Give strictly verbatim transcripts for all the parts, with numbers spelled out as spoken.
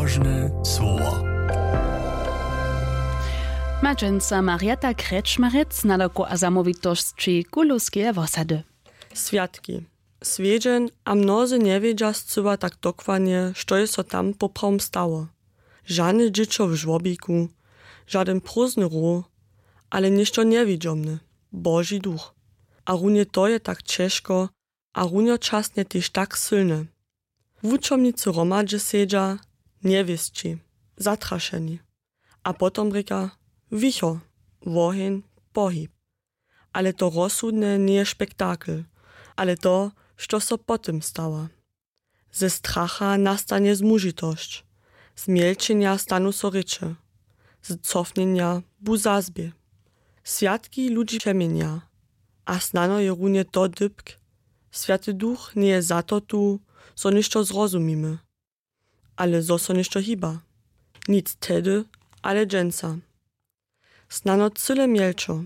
Ważne słowo. Ma dźensa Marieta Krečmarjec nadawku a zamołwitosći Kulowskeje wosady. Swjatki. Swjedźeń a mnozy njewědźa scyła tak dokładnje, što je so tam poprawom stało. Žane dźěćo w žłobiku, žadyn prózdny row, ale něšto njewidźomne, Boži duch. A runje to je tak ćežko a runjočasnje tež tak sylne. Wučomnicy hromadźe sedźa, njewěsći, zatrašeni. A potom rěka: Wicho, woheń, pohib. Ale to rozsudne njeje spektakel, ale to, što so po tym stała. Ze stracha nastanje zmužitosć, z mjelčenja stanu so rěče, z cofnjenja bu zazbě. Swjatki ludźi přeměnja. A snano je runje to dypk: Swjaty Duch njeje za to tu, zo něšto zrozumimy, ale zo so něšto hiba. Nic tehdy, ale dźensa. Snano cyle mjelčo.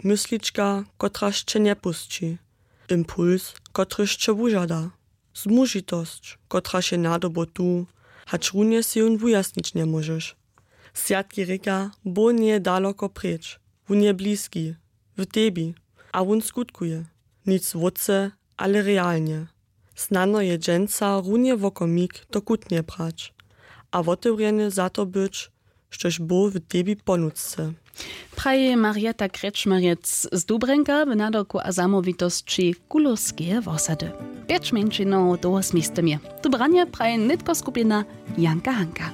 Myslička, kotraž će njepusći. Impuls, kotryž će wužada. Zmužitosć, kotraž je nadobo tu, hač runje sej jón wujasnić njemóžeš. Swjatki rěka: Bóh njeje daloko preč, wón je bliski, w tebi, a wón skutkuje. Nic wótře, ale realnje. Snano je dźensa runje wokomik to kutnje brać a wotewrjeny za to być, štož Bóh w tebi ponudce. Praji Marieta Krečmarjec z Dubrjenka w nadawku a zamołwitosći Kulowskeje wosady. Pjeć mjeńšinow dołho z městym je. Tu branje praji nětko skupina Janka Hanka.